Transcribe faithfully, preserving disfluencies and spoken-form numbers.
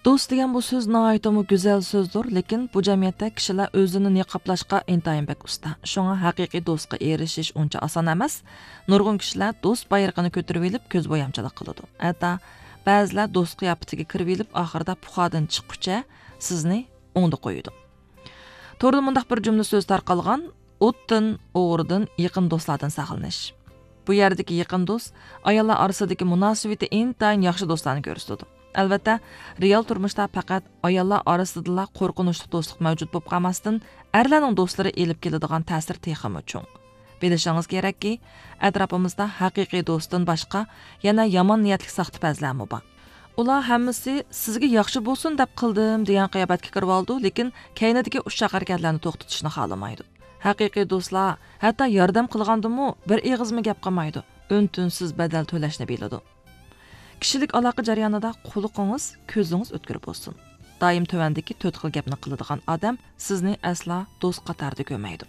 دوست دېگەن بۇ سۆز ناھايىتىمۇ گۈزەل سۆزدۇر، لېكىن بۇ جەمئىيەتتە كىشىلەر ئۆزىنى نىقابلاشقا ئىنتايىن بەك ئۇستا. شۇڭا ھەقىقىي دوستقا ئېرىشىش ئۇنچە ئاسان ئەمەس. نۇرغۇن كىشىلەر دوست بايرىقىنى كۆتۈرۈۋېلىپ كۆز بويامچىلىق قىلىدۇ. ھەتتا بەزىلەر دوست قىياپىتىگە كىرىۋېلىپ ئاخىرىدا پۇخادىن چىققۇچە سىزنى ئوڭدا قويىدۇ. توردا مۇنداق بىر جۈملە سۆز تارقالغان، ئوتتىن، ئوغرىدىن، يېقىن دوستلاردىن ساقلىنىش. بۇ يەردىكى يېقىن دوست ئاياللار ئارىسىدىكى مۇناسىۋىتى ئىنتايىن ياخشى دوستلارنى كۆرسىتىدۇ. ئەلۋەتتە، رېئال تۇرمۇشتا پەقەت ئاياللار ئارىسىدىلا قورقۇنچلۇق دوستلۇق مەۋجۇت بولۇپ قالماستىن، ئەرلەرنىڭ دوستلىرى ئېلىپ كېلىدىغان تەسىر تېخىمۇ چوڭ. بىلىشىڭىز كېرەككى، ئەتراپىمىزدا ھەقىقىي دوستتىن باشقا يەنە يامان نىيەتلىك ساختىپەزلەرمۇ بار. ئۇلار ھەممىسى سىزگە ياخشى بولسۇن دەپ قىلدىم دېگەن قىياپەتكە كىرىۋالىدۇ، لېكىن كەينىدىكى ئۇششاق ھەرىكەتلەرنى توختىتىشنى خالىمايدۇ. ھەقىقىي دوستلار ھەتتا ياردەم قىلغاندىمۇ بىر ئېغىزمۇ گەپ قىلمايدۇ، ئۈن-تىنسىز بەدەل تۆلەشنى بىلىدۇ. كىشىلىك ئالاقە جەريانىدا قۇلىقىڭىز، كۆزىڭىز ئۆتكۈر بولسۇن. دائىم تۆۋەندىكى تۆت خىل گەپنى قىلىدىغان ئادەم سىزنى ئەسلا دوست قاتارىدا كۆرمەيدۇ.